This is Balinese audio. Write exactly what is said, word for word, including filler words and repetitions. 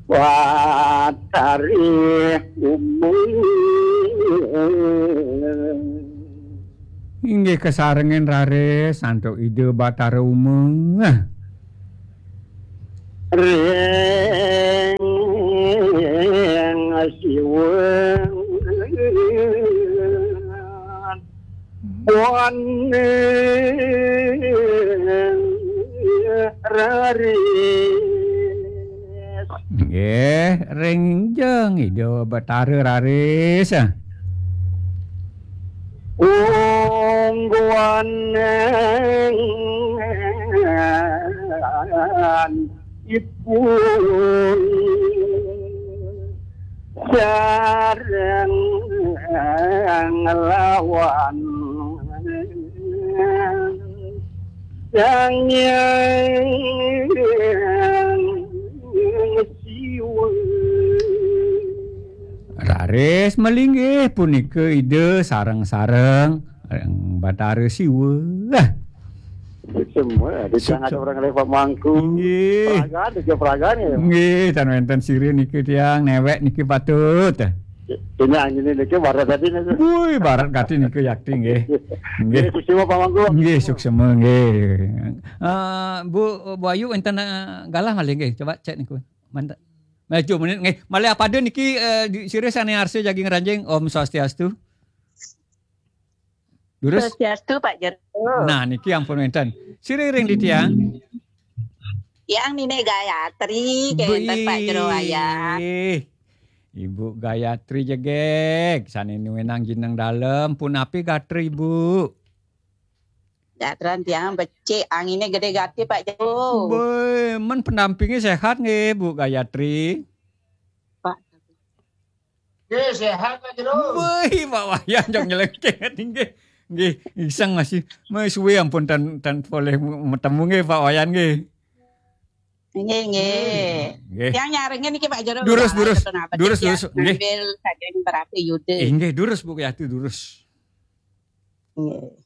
Batari Umeng. Inggih kasarengin raris antuk Ida Batara Umeng. Ring Siwa. Buan raris. Nggih, ring jeng Ida Batara raris. Ungguan ipun sareng lawan Sang Hyang Siwa. Raris malinggih punika Ida sareng-sareng ring Batara Siwa. Semua, di Sukses. Tengah orang lepas mangku. Nggih. Peragaan, dia peragaan ya. Nggih, tan wenten sira niki tiang newek niki patut. Ini angin ini ke barat tadi nih. Woi, barat kati niki yakti nggih. Nggih. Nggih, suksma Pak Mangku. Nggih, suksma nggih. Eh, Bu, Bu Ayu wenten, eh, galah malih nggih. Coba cek niku. Mantap. Maju menit nggih. Malih apada niki, eh, di, sira sane arsa jagi ngranjing. Om Swastiastu. Durus. Swastiastu, Pak Jero. Nah, niki ampun wenten. Sira ring di tiang. Tiang Nini Gayatri, kenten Pak Jero Wayan. Ibu Gayatri jegeg, sane nuwinang jineng dalem, punapi gatra Ibu? Gatran tiang becik, angine gede gati Pak Jero. Boi, men pendampinge sehat nggih Bu Gayatri? Pak. Nggih, sehat Pak Jero. Boi, Pak Wayan jog nyelengkeh nggih. Nggih, iseng masih. Meh suwe ampun tan, tan polih mu-, metemu nggih Pak Wayan nggih. Nggih, nggih. Nggih. Tiang nyarengin niki Pak Jero. Durus, durus. Durus, durus. Nggih. Sambil saking berapi Yuda. Eh, nggih, durus Bu Gayatri, durus. Nggih.